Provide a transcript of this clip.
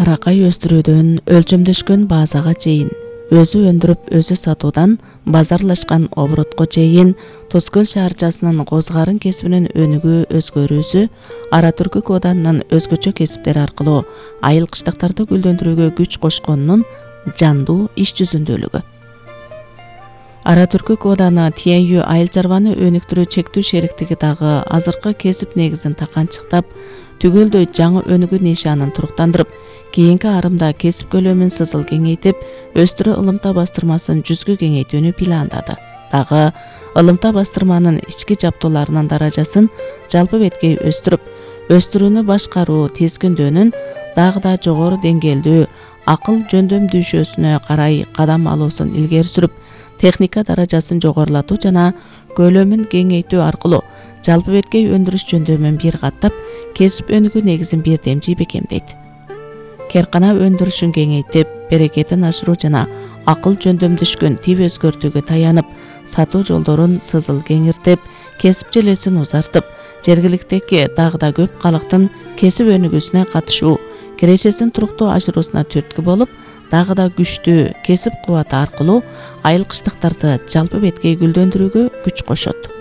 аракай өстүрүүдөн өлчөмдөшкөн базага чейин, өзү өндүрүп өзү сатуудан базарлашкан оборотко чейин Тоз Көл шаарчасынын козгарын кесибинин өнүгүү өзгөрүүсү Ара Түркүк Оданынын өзгөчө кесиптери аркылуу айыл кыштактарды гүлдөндүрүүгө күч кошконунун жандуу иш жүзүндөлүгү. Ара Түркүк Оданы тиейүү айыл чарбаны өнүктүрүү чектүү шериктиги дагы азыркы кесип негизин таканчыктап, түгөлдөй жаңы өнүгүү нишанын туруктандырып, кийинки арымда кесип көлөмүн сызыл кеңейтип, өстүрүү ылымта бастырмасын жүзгө кеңейтүүнү пландады. Дагы ылымта бастырманын ички жаптооларынын даражасын жалпы беткей өстүрүп, өстүрүүнү башкаруу тизгиндөөнүн дагы да жогору деңгээлдүү акыл жөндөмдүүшөсүнө карай кадам алуусун илгери сүрүп, техника даражасын жогорулатуу жана көлөмүн кеңейтүү аркылуу жалпы беткей өндүрүш жөндөмүн бир каттап, кесип өнүгүү негизин бирдемчи бекемдейт. Керкана өндүрүшүн кеңейтип, берекетин ашыруу жана акыл жөндөмдөшкөн тип өзгөртүүгө таянып, сатуу жолдорун сызыл кеңиртип, кесип желесин узартып, жергиликтеги дагы да көп калктын кесип өнүгүүсүнө катышуу, кирешесин туруктуу ашыруусуна түрткү болуп, дагы да күчтүү кесип кубаты аркылуу айыл кыштактарды жалпы беткей гүлдөндүрүүгө күч кошот.